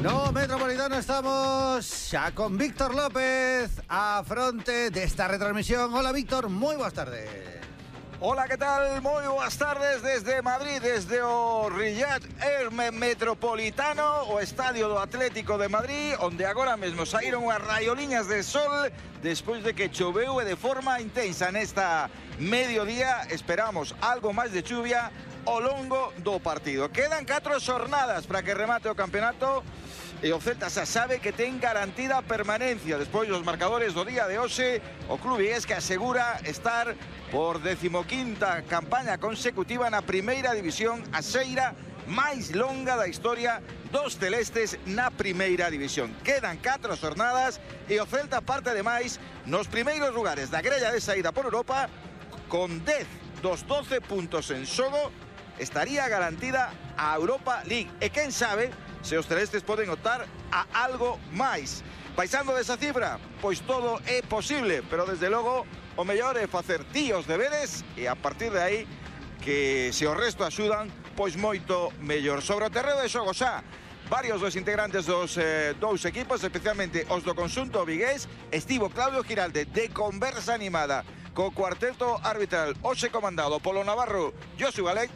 No Metropolitano, estamos xa con Víctor López a fronte desta retransmisión. Hola Víctor, moi boas tardes. Hola, ¿qué tal? Muy buenas tardes desde Madrid, desde o Riyadh Herme Metropolitano, o Estadio do Atlético de Madrid, onde agora mesmo saíron as raioliñas de sol despois de que choveu de forma intensa nesta mediodía. Esperamos algo máis de chuvia ao longo do partido. Quedan 4 xornadas para que remate o campeonato e o Celta xa sabe que ten garantida permanencia despois dos marcadores do día de hoxe. O club vigués que asegura estar por 15ª campaña consecutiva na primeira división, a xeira máis longa da historia dos celestes na primeira división. Quedan 4 xornadas e o Celta parte ademais nos primeiros lugares da grella de saída por Europa con 10 dos 12 puntos en xogo. Estaría garantida a Europa League e quen sabe se os celestes poden optar a algo máis. Baixando desa cifra, pois todo é posible, pero desde logo o mellor é facer tíos deberes e a partir de aí que se o resto axudan, pois moito mellor. Sobre o terreo de xogo xa, varios dos integrantes dos dous equipos, especialmente os do conxunto vigués, estivo Claudio Giralde de conversa animada co cuarteto arbitral hoxe comandado polo navarro Josu Galec.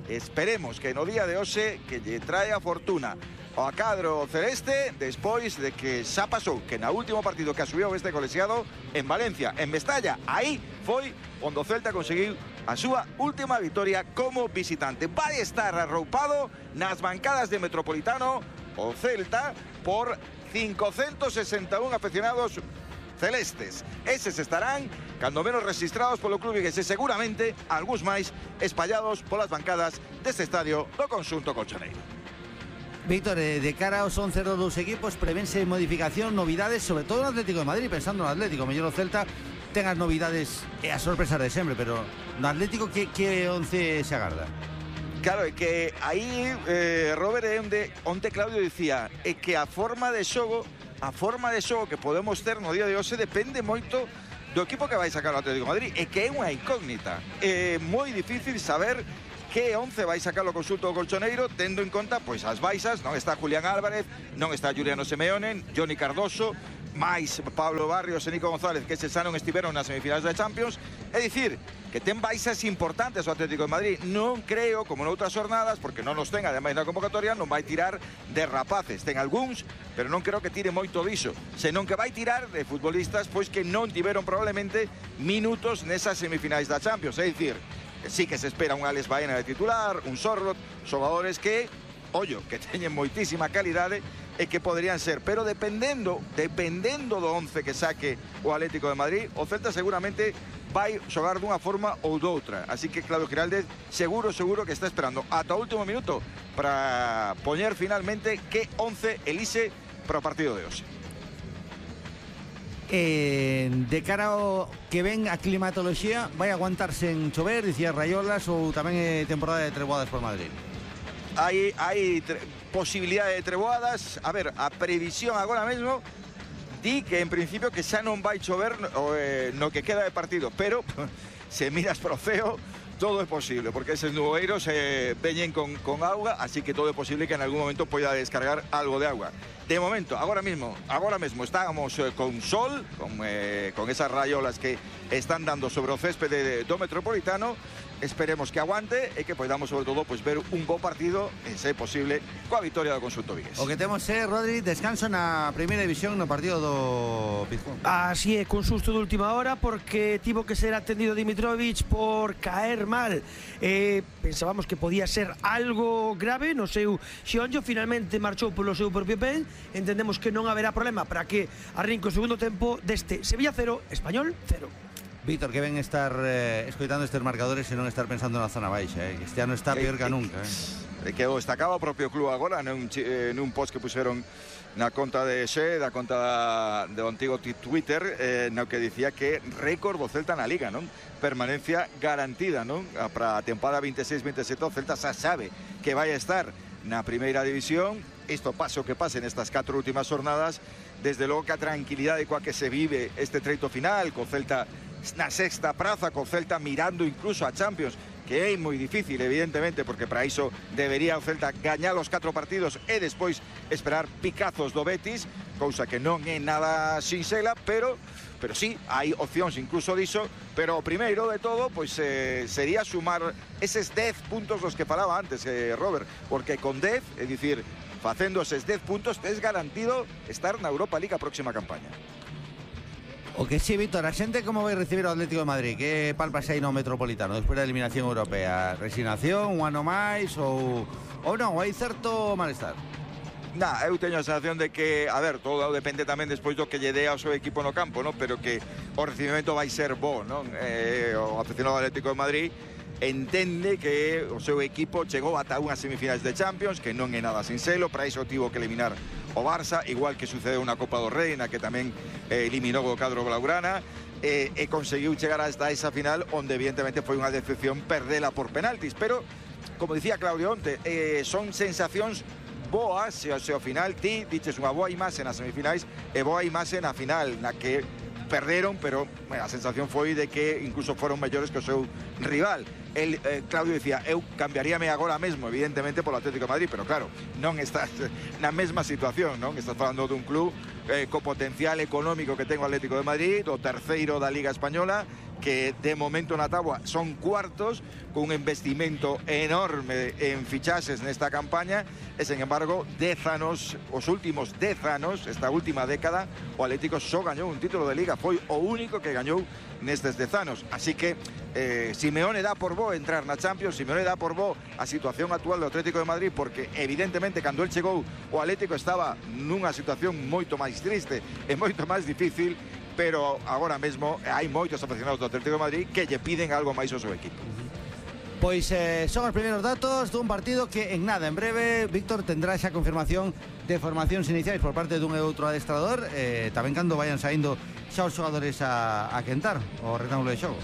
Esperemos que no día de hoxe que lle trae a fortuna ao cadro celeste despois de que xa pasou que na último partido que asubiu este colexiado en Valencia, en Mestalla, aí foi onde o Celta conseguiu a súa última vitoria como visitante. Vai estar arroupado nas bancadas de Metropolitano o Celta por 561 afeccionados celestes. Eses estarán cando menos registrados polo club vigués e seguramente algúns máis espallados polas bancadas deste estadio do conxunto colchoneiro. Víctor, de cara aos 11 dos equipos, prevense modificación, novidades, sobre todo no Atlético de Madrid, pensando no Atlético. Mellor o Celta ten as novidades e as sorpresas de sempre, pero no Atlético que 11 se agarda? Claro, é que aí, Robert, onde Claudio dicía, é que a forma de xogo que podemos ter no día de hoxe depende moito do equipo que vai sacar o Atlético de Madrid, e que é unha incógnita. É moi difícil saber que 11 vai sacar o conxunto colchoneiro, tendo en conta pois as baixas. Non está Julián Álvarez, non está Juliano Simeone, Johnny Cardoso, máis Pablo Barrios e Nico González, que se xa non estiveron nas semifinais da Champions. É dicir, que ten baixas importantes o Atlético de Madrid. Non creo, como noutras jornadas, porque non nos ten ademais na convocatoria, non vai tirar de rapaces. Ten algúns, pero non creo que tire moito diso, senón que vai tirar de futbolistas pois que non tiveron probablemente minutos nesas semifinais da Champions. É dicir, sí que se espera un Alex Baena de titular, un Sorlot, xogadores que, ollo, que teñen moitísima calidade e que poderían ser, pero dependendo do 11 que saque o Atlético de Madrid, o Celta seguramente vai xogar dunha forma ou doutra. Así que Claudio Giralde seguro que está esperando ata o último minuto para poñer finalmente que 11 elixe para o partido de hoxe. De cara ao que ven a climatoloxía, vai aguantarse en chover, dicía Raiolas, ou tamén é temporada de treboadas por Madrid? Hai posibilidade de treboadas. A ver, a previsión agora mesmo di que en principio que xa non vai chover no que queda de partido, pero se miras pro ceo todo é posible, porque eses nuboeiros veñen con auga, así que todo é posible que en algún momento poida descargar algo de agua. De momento, agora mesmo estábamos con sol, con esas raiolas que están dando sobre o céspede do Metropolitano. Esperemos que aguante e que podamos, sobre todo, pues, ver un bo partido, e se é posible, coa vitoria do conxunto vigués. O que temos é, Rodri, descanso na primeira división no partido do Pizjuán. Así é, con susto de última hora, porque tivo que ser atendido Dimitrovic por caer mal. Pensábamos que podía ser algo grave no seu xeonllo, finalmente marchou polo seu propio pé. Entendemos que non haberá problema para que arrinque o segundo tempo deste Sevilla 0, Español 0. Víctor, que ven estar escoitando estes marcadores e non estar pensando na zona baixa, este ano está peor que nunca. Que o destacaba o propio club agora nun post que puseron na conta de Xe, da conta do antigo Twitter, no que dicía que récord do Celta na Liga, non? Permanencia garantida, non? Para a temporada 26-27 o Celta xa sabe que vai estar na primeira división. Isto pase o que pase nestas 4 últimas jornadas, desde logo que a tranquilidade coa que se vive este treito final, co Celta na sexta praza, co Celta mirando incluso a Champions, que é moi difícil, evidentemente, porque para iso debería o Celta gañar os 4 partidos e despois esperar picazos do Betis, cousa que non é nada sinxela, pero sí, hai opcións incluso diso, pero o primeiro de todo pois sería sumar eses 10 puntos dos que falaba antes, Robert, porque con 10, é dicir, facendo eses 10 puntos, tes garantido estar na Europa League a próxima campaña. O que sí, Víctor, a xente como vai recibir o Atlético de Madrid? Que palpas aí no Metropolitano despois da eliminación europea? Resignación, un ano máis ou non? Hai certo malestar? Eu teño a sensación de que, a ver, todo depende tamén despois do que lle dé ao seu equipo no campo, ¿no? Pero que o recibimento vai ser bo, non? O aficionado do Atlético de Madrid entende que o seu equipo chegou ata unhas semifinais de Champions, que non é nada sinxelo, para iso tivo que eliminar o Barça, igual que sucedeu na Copa do Rei, na que tamén eliminou o cadro blaugrana, e conseguiu chegar hasta esa final, onde evidentemente foi unha decepción perdela por penaltis, pero, como dicía Claudio onte, son sensacións boas, se ao final ti dices unha boa imaxe nas semifinais e boa imaxe na final, na que perderon, pero a sensación foi de que incluso foron mellores que o seu rival. Claudio decía, eu cambiaríame agora mesmo, evidentemente, polo Atlético de Madrid, pero claro, non estás na mesma situación, non? Estás falando dun club co potencial económico que ten o Atlético de Madrid, o terceiro da Liga Española, que de momento na táboa son cuartos, con un investimento enorme en fichaxes nesta campaña, e, sen embargo, 10 anos, os últimos 10 anos, esta última década, o Atlético só gañou un título de Liga, foi o único que gañou nestes 10 anos. Así que Simeone dá por bo entrar na Champions, Simeone dá por bo a situación actual do Atlético de Madrid, porque evidentemente cando el chegou o Atlético estaba nunha situación moito máis triste e moito máis difícil, pero agora mesmo hai moitos aficionados do Atlético de Madrid que lle piden algo máis ao seu equipo. Pois son os primeiros datos dun partido que en nada, en breve, Víctor, tendrá esa confirmación de formacións iniciais por parte dun e outro adestrador, tamén cando vayan saindo xa os xogadores a quentar o rectángulo de xogo.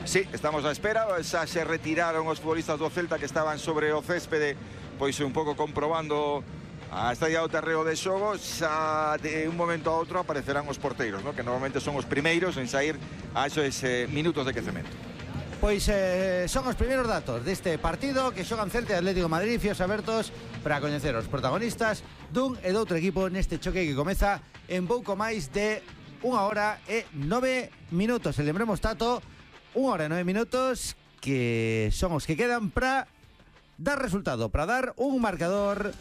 Sí, estamos á espera, xa se retiraron os futbolistas do Celta que estaban sobre o céspede, pois un pouco comprobando a estadía do terreo de xogo. Xa de un momento a outro aparecerán os porteiros, ¿no? Que normalmente son os primeiros en sair a esos minutos de quecemento. Pois son os primeiros datos deste partido que xogan Celta e Atlético de Madrid, fíos abertos para coñecer os protagonistas dun e doutro equipo neste choque que comeza en pouco máis de 1 hora e 9 minutos. E lembremos, Tato, 1 hora e 9 minutos que son os que quedan para dar resultado, para dar un marcador,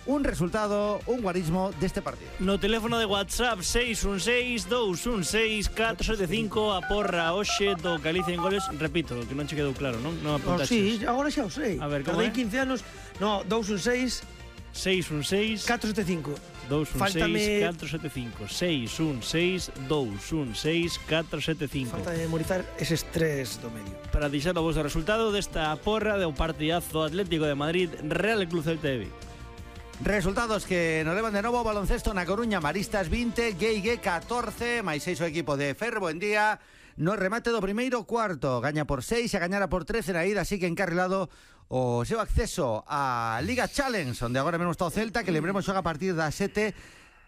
un resultado, un guarismo deste partido. No teléfono de WhatsApp 616-216-475 a porra hoxe do Galicia en goles. Repito, que non che quedou claro, non? Non apuntaches. Sí, agora xa o sei. A ver, como é? 15 anos. No, 216 616 475. 216-475 616-216-475. Falta de memorizar eses tres do medio. Para deixar o vosso resultado desta porra do partidazo Atlético de Madrid Real Club Celta de Vigo. Resultados que nos levan de novo: baloncesto na Coruña, Maristas 20, Gueigué 14, máis 6 o equipo de Ferro en día. No remate do primeiro cuarto, gaña por 6 e gañara por 13 na ida, así que encarrilado o seu acceso a Liga Challenge, onde agora mesmo está o Celta, que lembremos xoga a partir das 7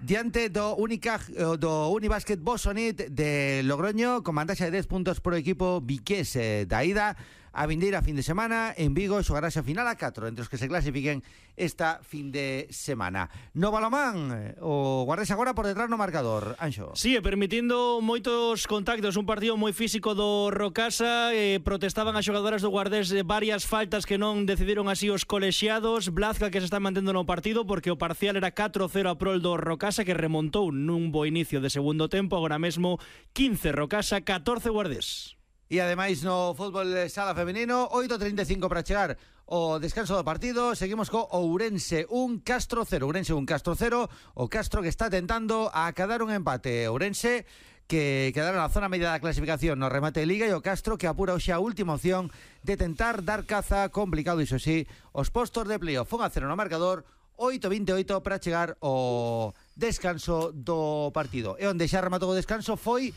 diante do Unibásquet Bosonit de Logroño, con vantaxe de 10 puntos por equipo viqués da ida. A vindeira fin de semana en Vigo xogarase a final a 4 entre os que se clasifiquen esta fin de semana. No balomán, o Guardés agora por detrás no marcador, Anxo. Sí, permitindo moitos contactos, un partido moi físico do Rocasa, protestaban as xogadoras do Guardés varias faltas que non decidiron así os colexiados. Blazka que se está mantendo no partido porque o parcial era 4-0 a prol do Rocasa, que remontou nun bo inicio de segundo tempo. Agora mesmo 15 Rocasa, 14 Guardés. E ademais no fútbol sala femenino, 8:35 para chegar o descanso do partido. Seguimos co Ourense 1, Castro 0. Ourense 1, Castro 0. O Castro que está tentando acadar un empate. Ourense que quedará na zona media da clasificación no remate de Liga, e o Castro que apura hoxe a última opción de tentar dar caza, complicado iso sí, os postos de playoff. 1-0 no marcador, 8:28 para chegar o descanso do partido. E onde xa rematou o descanso foi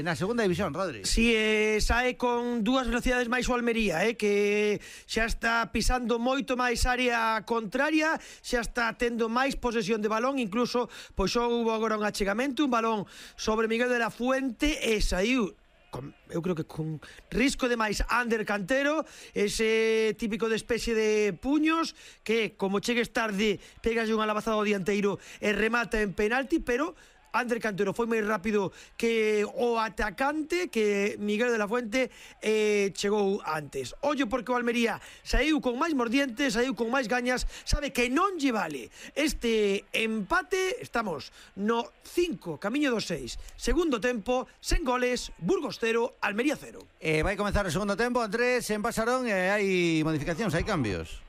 na segunda división, Rodri. Si, sae con dúas velocidades máis o Almería, que xa está pisando moito máis área contraria, xa está tendo máis posesión de balón, incluso pois houve agora un achegamento, un balón sobre Miguel de la Fuente e saiu eu creo que con risco de máis Ander Cantero, ese típico de especie de puños que como chegues tarde pegas unha labazada ao dianteiro e remata en penalti, pero Ander Cantero foi máis rápido que o atacante, que Miguel de la Fuente, chegou antes. Ollo porque o Almería saiu con máis mordientes, saiu con máis gañas, sabe que non lle vale este empate. Estamos no 5, camiño do 6, segundo tempo, sen goles, Burgos 0, Almería 0. Vai comenzar o segundo tempo, Andrés, en Pasarón, hai modificacións, hai cambios.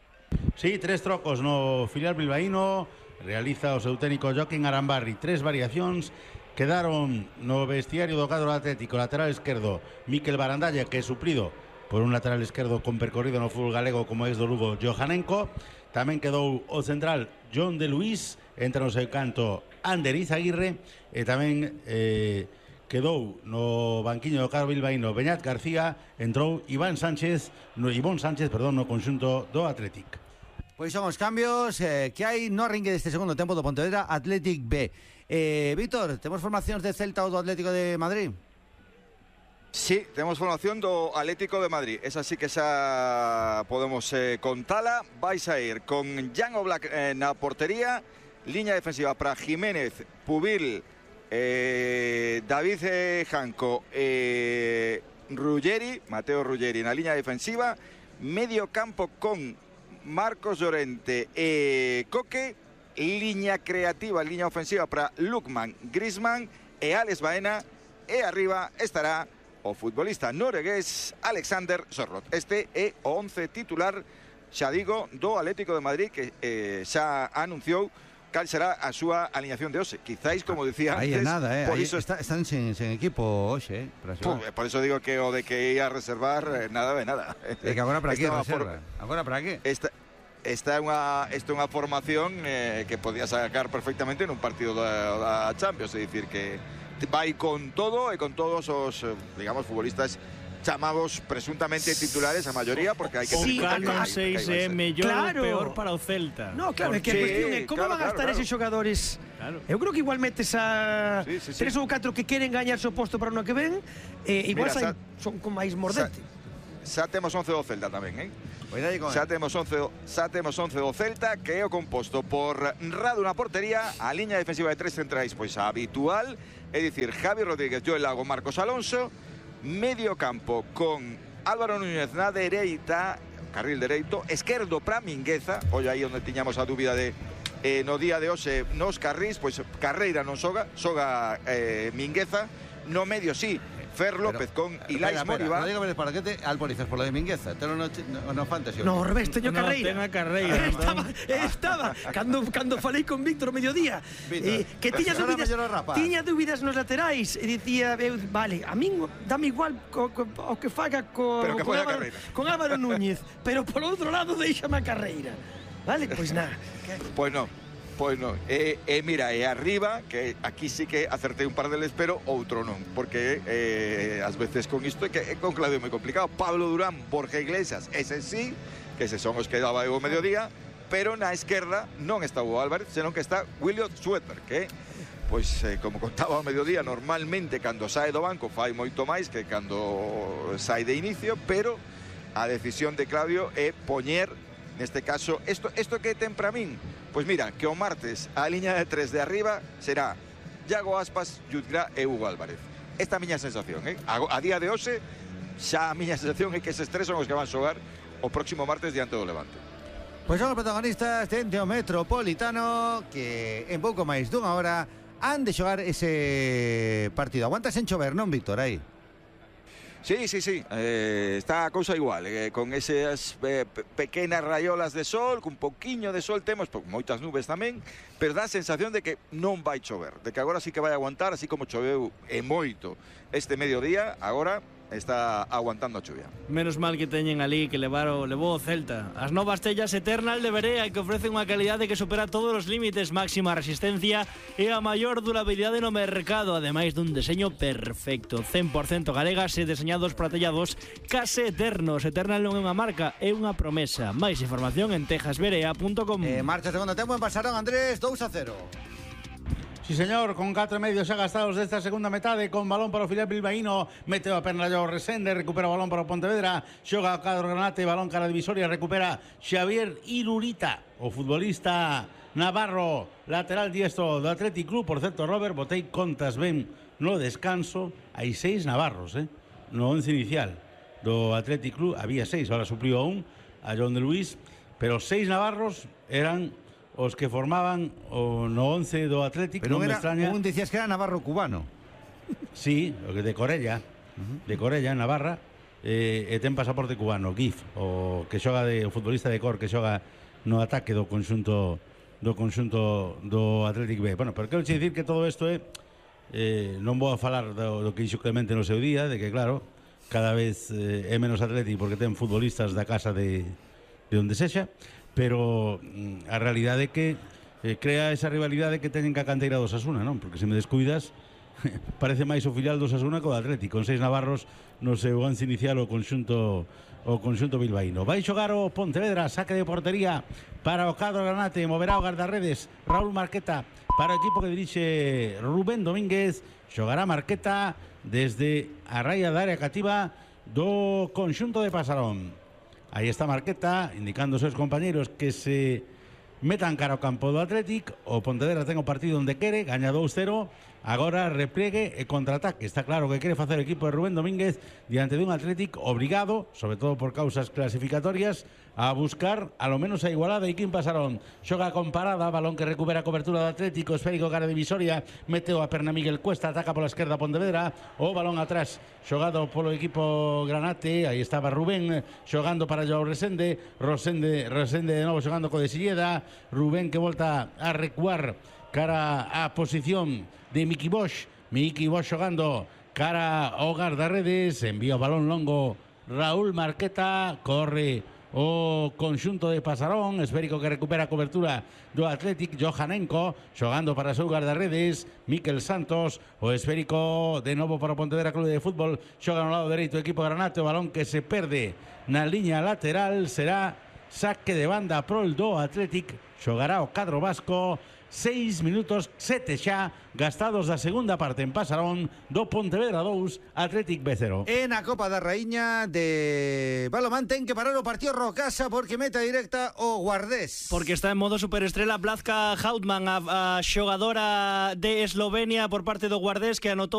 Sí, 3 trocos no filial bilbaíno. Realiza o seu técnico Joaquín Arambarri 3 variacións. Quedaron no vestiario do cadro atlético lateral esquerdo Mikel Barandalla, que é suplido por un lateral esquerdo con percorrido no fútbol galego como ex do Lugo, Johanenko. Tamén quedou o central John de Luis, entra no seu canto Ander Izaguirre, e tamén quedou no banquiño do cadro bilbaíno Beñat García, entrou Ivón Sánchez no conxunto do Atlético. Pois son os cambios que hai no arranque deste segundo tempo do Pontevedra Athletic B. Víctor, temos formacións de Celta ou do Atlético de Madrid? Sí, temos formación do Atlético de Madrid. Esa sí que xa podemos contala. Vais a ir con Jan Oblak na portería, liña defensiva para Jiménez, Pubil, David Janco, Ruggeri, Mateo Ruggeri na liña defensiva, medio campo con Marcos Llorente e Coque, liña creativa, liña ofensiva para Lukman, Griezmann e Alex Baena, e arriba estará o futbolista noruegués Alexander Sørloth. Este é o 11 titular, xa digo, do Atlético de Madrid, que xa anunciou cal será a súa alineación de hoxe. Quizáis, como decía antes, aí é nada, por iso están sen equipo hoxe, por eso digo que o de que ia a reservar nada de nada. É que agora para que reserva? Agora para que? Esta é unha formación que podía sacar perfectamente nun partido da Champions, é dicir que vai con todo e con todos os, digamos, futbolistas chamados presuntamente titulares, a maioría, porque hai que... Sí, Canon 6 é mellor ou peor para o Celta. No, claro, é que a cuestión é como van a estar eses xogadores. Eu creo que igual metes a 3 ou 4 que queren gañarse o posto para o ano que ven, igual son con máis mordente. Xa temos 11 do Celta tamén, xa temos 11 do Celta, que é o composto por Radu na portería, a liña defensiva de 3 centrais, pois a habitual, é dicir, Javi Rodríguez, Joel Lago, Marcos Alonso, medio campo con Álvaro Núñez na dereita, carril dereito, esquerdo para Mingueza, ollo aí onde tiñamos a dúbida de no día de hoxe nos carrís, pois Carreira non xoga Mingueza, no medio sí, Fer López con Ilais Moriba. No digo para que te alporizas por lo de Mingueza, te no fantasy. No, revés, teño Carreira. No, Carreira. Estaba cando falei con Víctor o mediodía, que tiña dúbidas nos laterais e dicía, vale, a min dame igual o que faga con Álvaro Núñez, pero por outro lado deixame a Carreira. Vale, pois nada. Pois non. Mira, arriba, que aquí sí que acertei un par deles, pero outro non, porque ás veces con isto é que con Claudio é moi complicado. Pablo Durán, Borja Iglesias, ese sí, que ese son os que daba o mediodía, pero na esquerda non está o Álvarez, senón que está Williot Sweater, que pois, como contaba ao mediodía, normalmente cando sae do banco fai moito máis que cando sae de inicio, pero a decisión de Claudio é poñer, neste caso, isto que ten para min. Pois mira, que o martes a liña de 3 de arriba será Iago Aspas, Jutgra e Hugo Álvarez. Esta é a miña sensación, a día de hoxe, xa a miña sensación é que eses tres son os que van xogar o próximo martes diante do Levante. Pois son os protagonistas dentro do Metropolitano, que en pouco máis dunha hora han de xogar ese partido. Aguantas en chover, non, Víctor, aí? Sí, está a cousa igual, con esas pequenas raiolas de sol, cun poquiño de sol temos, moitas nubes tamén, pero dá a sensación de que non vai chover, de que agora sí que vai aguantar, así como choveu e moito este mediodía, agora está aguantando a chuvia. Menos mal que teñen ali que levou o Celta. As novas tellas Eternal de Berea, que ofrecen unha calidade que supera todos os límites, máxima resistencia e a maior durabilidade no mercado, ademais dun deseño perfecto, 100% galegas e deseñados para tellados case eternos. Eternal non é unha marca, é unha promesa. Máis información en tejasberea.com. Marcha segundo tempo en Pasarón, Andrés, 2-0. Sí, señor, con 4 medios xa gastados desta segunda metade, con balón para o filial bilbaíno, meteu a perna Joao Resende, recupera o balón para o Pontevedra, xoga o cadro Granate, balón cara a divisoria, recupera Xavier Irurita, o futbolista navarro, lateral diestro do Athletic Club. Por certo, Robert, botei contas ben no descanso, hai 6 navarros, no 11 inicial do Athletic Club, había 6, ahora supliu a un, a John de Luis, pero 6 navarros eran os que formaban o no 11 do Athletic. Pero non me era, extraña. un decías que era navarro cubano. Sí, o que de Corella, en Navarra, e ten pasaporte cubano, GIF, o que xoga o futbolista de Cor que xoga no ataque do conxunto do Athletic B. Bueno, pero quero dicir que todo isto non vou a falar do que dixo Clemente no seu día, de que claro, cada vez é menos Athletic porque ten futbolistas da casa de onde sexa, pero a realidade é que crea esa rivalidade que teñen ca canteira do Osasuna, non? Porque se me descuidas parece máis o filial do Osasuna co do Athletic, con 6 navarros no seu once inicial o conxunto bilbaíno. Vai xogar o Pontevedra, saque de portería para o cadro Granate, moverá o guardarredes Raúl Marqueta para o equipo que dirixe Rubén Domínguez. Xogará Marqueta desde a raya da área cativa do conxunto de Pasarón. Aí está Marqueta indicando aos seus compañeiros que se metan cara ao campo do Athletic. O Pontevedra ten o partido onde quere, gaña 2-0. Agora repliegue e contraataque. Está claro que quere facer o equipo de Rubén Domínguez diante dun Athletic obrigado, sobre todo por causas clasificatorias, a buscar a lo menos a igualada. E Quim Pasarón xoga con parada, balón que recupera a cobertura do Atlético, esférico cara divisoria, meteu a perna Miguel Cuesta, ataca pola esquerda Pontevedra, o balón atrás xogado polo equipo Granate. Aí estaba Rubén xogando para Joao Resende, Resende de novo xogando co de Silleda, Rubén que volta a recuar cara a posición de Miki Bosch xogando cara ao guardarredes, envía o balón longo Raúl Marqueta, corre o conxunto de Pasarón, esférico que recupera a cobertura do Athletic, Johanenko xogando para o seu guardarredes, Miquel Santos, o esférico de novo para o Pontevedra Clube de Fútbol, xoga no lado dereito o equipo Granate, o balón que se perde na liña lateral, será saque de banda pro el do Athletic, xogará o cadro vasco. 6 minutos 7 xa gastados da segunda parte en Pasarón do Pontevedra 2, Athletic B0. En a Copa da Raíña de balonmán ten que parar o partido Rocasa porque meta directa o Guardés. Porque está en modo superestrela Blazka Hautman, a xogadora de Eslovenia por parte do Guardés, que anotou